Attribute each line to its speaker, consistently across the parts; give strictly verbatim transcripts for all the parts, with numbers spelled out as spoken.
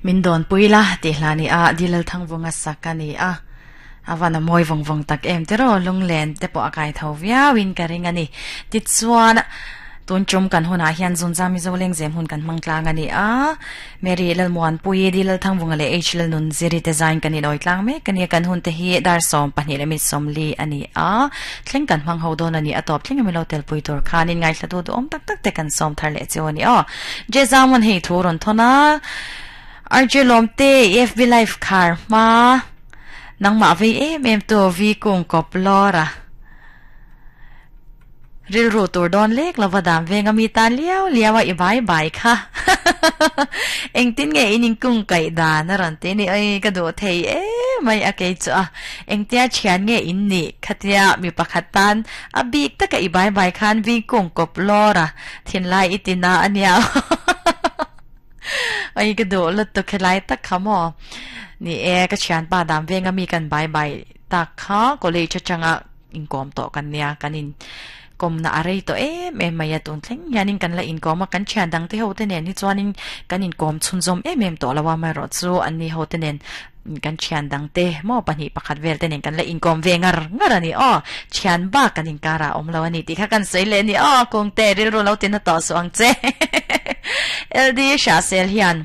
Speaker 1: Min don puila ti hlani a dilal thangvunga sakani a awana moi vong vong tak em tero lunglen te po akai tho viawin ka ringani ti chuan tun chum kan huna hian zunza mi zo leng zem hun kan mangtlang ani a Mary lal muan pui di lal thangvunga le H lal nun ziri te zain kan in oi tlang me kan kan hun te hi dar som pahnih le mi som li ani a thleng kan hmang ho don ani atop thleng mi lo tel pui tur khanin ngai thlatu du om tak tak te kan som thar le chewani o je zamon hei thuron thona R J Lomte F B Life khar ma nang ma vi em em to vi kung kop lora ril ru tur don lek lova dam venga mi tan liao liawa i bai bai kha eng tin nge ining kung kai da na ran te ni ai ka do thei e mai a ke chu a eng tia thian nge in ni khatia mi pakhat tan a bik ta ka i bai bai khan vi kung kop lora thin lai itina ania ai ka do lut to khelai tak khamo ni e ka thian pa dam venga mi kan bai bai tak kha college changa in kom to kan nia kanin kom na arei to em em mai atun thleng hianin kan la in kom a kan thian dang te ho te nen hi chuanin kan in kom chhunzawm em em to lawa mai ro chu an ni ho te nen kan thian dang te mo pahnih pakhat vel te nen kan la in kom ve ngar ngar ani o thian ba kan in kara om lo ani ti kha kan sei le ni o kong te ril ro lo tin na to so ang che L D sha sel hian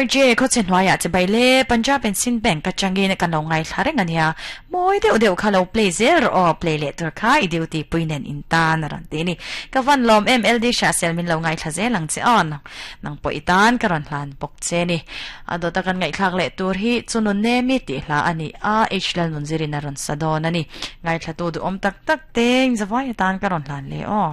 Speaker 1: R J kho chen hnuaiah che bai le Punjab and Sind Bank ka changin kan lo ngai thla reng ania moi deuh deuh kha lo play zel ro play le tur kha i duty puinen in tan ran te ni ka van lom M L D sha sel min lo ngai thla zel ang che on nang po itan ka ron hlan bok che ni ado takan ngai thlak le tur hi chunun ne mi ti hla ani a H lal nun zirin a ron sadon ani ngai thla tu du om tak tak teng zawai tan ka ron hlan le o.